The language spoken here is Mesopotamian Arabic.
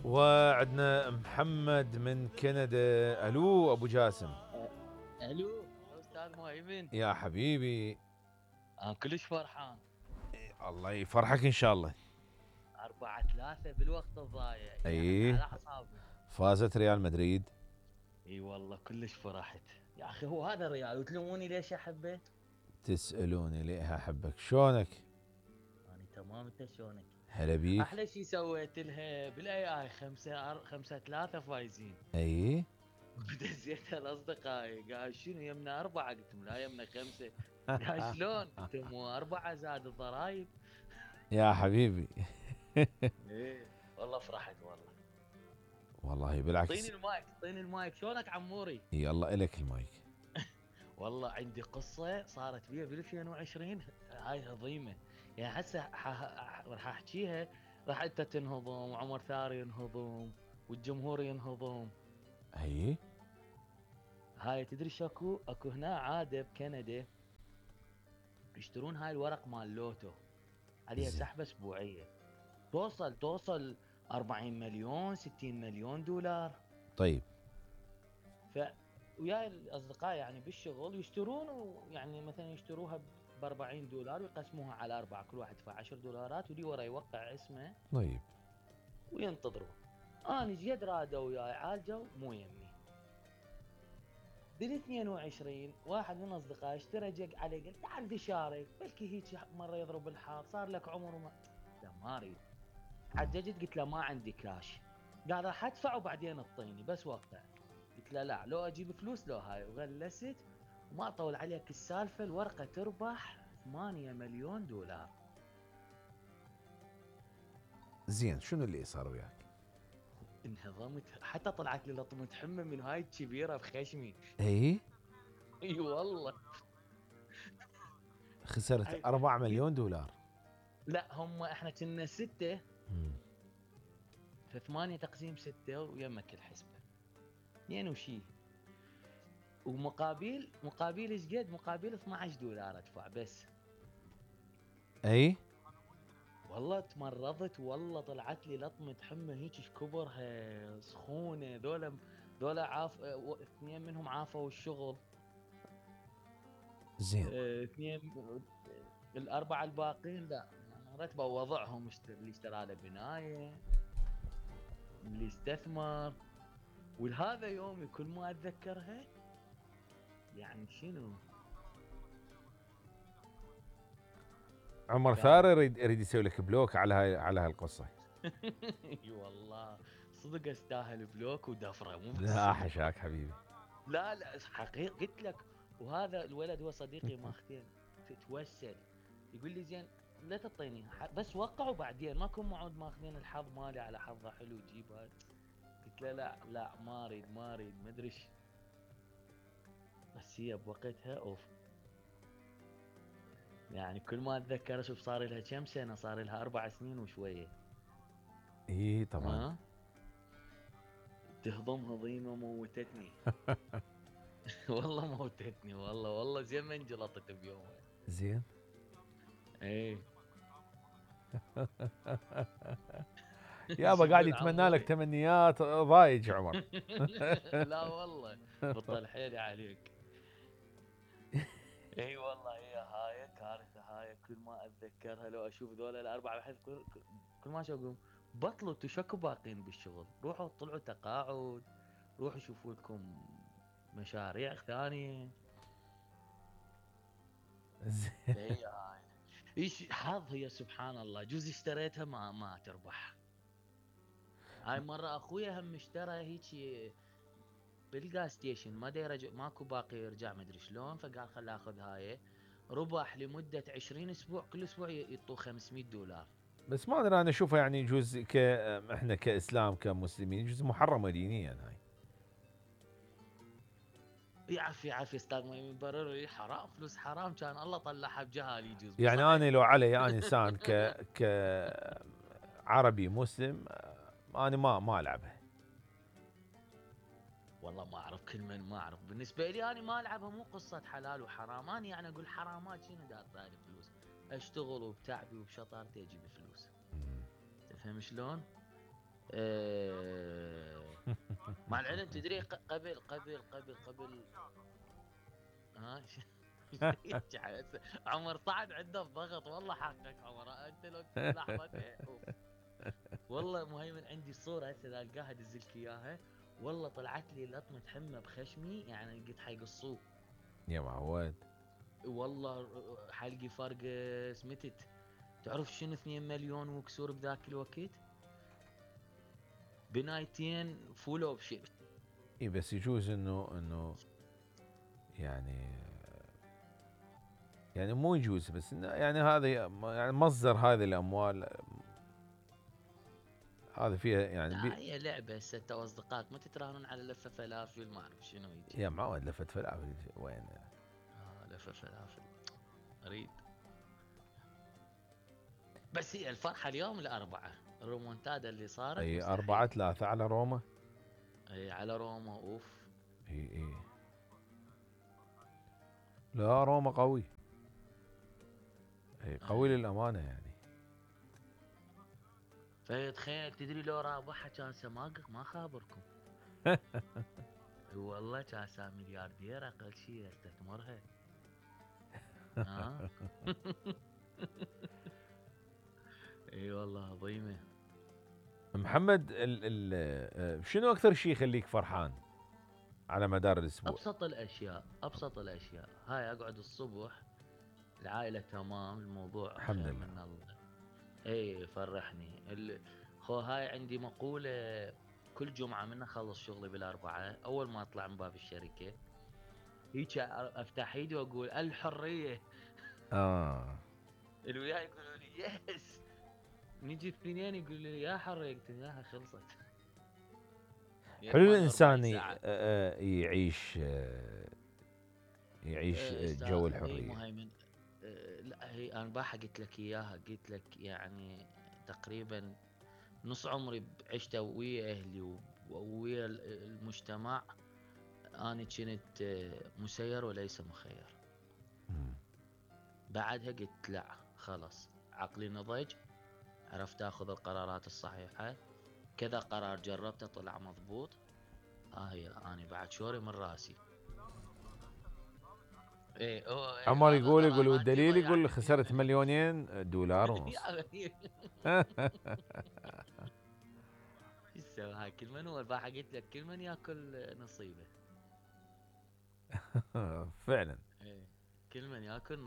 وعندنا محمد من كندا. الو ابو جاسم. الو استاذ مؤمن يا حبيبي. كلش فرحان. الله يفرحك ان شاء الله. 4-3 بالوقت الضايع يعني اي على اعصابي. فازت ريال مدريد. اي والله كلش فرحت يا اخي. هو هذا ريال وتلوموني ليش احبه؟ تسألوني ليه احبك شلونك؟ انا تمام، انت شلونك؟ هلا بيك. احلى شيء سويت لها بالاي اي 5-3 فايزين. اي ودزيتها لاصدقائي، قال شنو يمنا 4؟ قلت لهم لا يمنا 5. قال شلون؟ قلت لهم 4 زاد الضرايب. يا حبيبي. ايه والله فرحت والله. والله بالعكس. اعطيني المايك شلونك عموري؟ يلا الك المايك. والله عندي قصة صارت بي 2020 هاي عظيمة. يعني هسه راح احكيها، راح انت تنهضم وعمر ثاري ينهضم والجمهور ينهضم. اي هاي تدري شاكو اكو هنا عادة بكندا يشترون هاي الورق مال لوتو، عليها زين. سحبة اسبوعية توصل 40 مليون 60 مليون دولار. طيب. ف وياي الاصدقاء يعني بالشغل يشترون، ويعني مثلا يشتروها ب 40 دولار ويقسموها على 4، كل واحد يدفع 10 دولارات ولي ورا يوقع اسمه طيب. وينتظرون. انا زيد رادوا وياي عالجوا مو يمي. بال 22 واحد من اصدقائي اشترى جق عليه، قال تعال تشارك بلكي هيك مره يضرب الحظ، صار لك عمر وما. لا ما اريد. حججت قلت له ما عندي كاش، قال راح ادفع وبعدين اعطيني بس وقتها. قلت له لا، لو اجيب فلوس لو هاي، وغلست وما اطول عليك السالفه. الورقه تربح 8 مليون دولار. زين شنو اللي صار وياك؟ انهضمت، حتى طلعت لي لطمه حمى من هاي الكبيره بخشمي. اي اي والله. خسرت 4 مليون دولار. لا هم احنا كنا 6، ف8 تقسيم 6 ويمك الحسبه 2 وشي. مقابل ايش قد؟ مقابل 12 دولار ادفع بس. اي والله تمرضت، والله طلعت لي لطمة حمى هيك كبرها سخونة. ذولا اثنين منهم عافوا الشغل. زين. اثنين. الأربعة الباقين لا، رتبوا وضعهم. اللي اشترى له بناية، اللي استثمر. ولهذا يومي كل ما أتذكرها يعني شنو. عمر ثاري يريد يسوي لك بلوك على هاي القصه. اي والله صدق استاهل بلوك ودفره مو بس. لا حشاك حبيبي. لا حقيقي قلت لك. وهذا الولد هو صديقي ماختين تتوسل، يقول لي زين لا تعطيني بس وقع وبعدين ماكو موعود ماخذين الحظ مالي على حظه حلو جيب هاي. قلت له لا ما اريد ما ادري ايش. بس هي بوقتها اوف. يعني كل ما اتذكر اشوف صار لها كم سنه، صار لها 4 سنين وشويه. اي طبعا. تهضم هضيمه موتتني. والله موتتني والله زين ما انجلطت بيومها. زين. ايه. يابا قاعد يتمنى لك تمنيات ضايج عمر. لا والله بطل حيلي عليك. اي والله هي هاي كارثه. هاي كل ما اتذكرها لو اشوف ذولا الاربعه بحس كل ما اشوفهم بطلوا تشكوا باقين بالشغل. روحوا طلعوا تقاعد، روحوا شوفوا لكم مشاريع ثانيه. هي هاي ايش حظ. هي سبحان الله جوز اشتريتها ما تربح. هاي مرة اخويا هم اشترى هيك بالجاز ستيشن، ما يرجع ماكو باقي يرجع ما ادري شلون، فقال خل اخذ هاي. ربح لمدة 20 اسبوع، كل اسبوع يعطوه 500 دولار. بس ما ادري انا اشوفها يعني يجوز احنا كاسلام كمسلمين يجوز محرمه دينيا هاي. يعفي استاذ ما يبرر لي حرام، فلوس حرام كان الله طلعها بجهالي يجوز. يعني انا لو علي انا انسان ك عربي مسلم انا ما العبها. والله ما اعرف، كل من ما اعرف. بالنسبه لي انا ما العبها، مو قصه حلال وحرام. انا يعني اقول حرامات شنو داطاني فلوس، اشتغل وبتعبي وبشطارتي اجيب فلوس. تفهم شلون؟ مع العلم تدري قبل ها عمر صعد عنده الضغط والله حقك عمر انت لو لحظتين والله مهيمن عندي صورة هسه اذا القاها ادزلك اياها. والله طلعت لي لطمة حمى بخشمي يعني قلت حيقصوه. يا معود. والله حلقي فارقة سمتت. تعرف شنو 2 مليون وكسور بذاك الوقت؟ بنايتين فول اوبشن. اي بس يجوز انه يعني مو يجوز بس إنه يعني هذا يعني مصدر هذه الاموال هذا فيها يعني لا هي لعبة هسه انت واصدقائك ما تتراهنون على لفة فلافل ما اعرف شنو يجي. يا معود لفة فلافل وين؟ لفة فلافل اريد. بس هي الفرحة اليوم الأربعة الرومونتادا اللي صارت اي مستحيل. 4-3 على روما. اي على روما اوف. اي لا روما قوي. اي قوي للامانة يعني. فتخيل تدري لو رابحها كان سماقق ما خابركم. والله كان ملياردير اقل شيء استثمرها. ها اي والله عظيمه. محمد شنو اكثر شيء يخليك فرحان على مدار الاسبوع؟ ابسط الاشياء هاي اقعد الصبح العائله تمام الموضوع الحمد خير لله. من الله. اي فرحني خو هاي عندي مقوله كل جمعه من اخلص شغلي بالاربعاء اول ما اطلع من باب الشركه هيك افتح ايدي واقول الحريه. الوياي يقولوا لي يس. نجي الاثنين يقولوا لي يا حريه قلت لهم ياها خلصت. حلو الانسان يعيش جو الحريه. مهيمن. لا هي انا باحة قلت لك اياها قلت لك يعني تقريبا نص عمري عشته ويا اهلي ويا المجتمع. انا كنت مسير وليس مخير. بعدها قلت لا خلاص عقلي نضج عرفت اخذ القرارات الصحيحة. كذا قرار جربته طلع مضبوط. هي انا بعد شوري من راسي. ايه عمر يقول والدليل يقول خسرت $2,000,000 ونص. شو تسوي هاي كل من هو البارحة قلت لك كل من ياكل نصيبه. فعلا. ايه كل من ياكل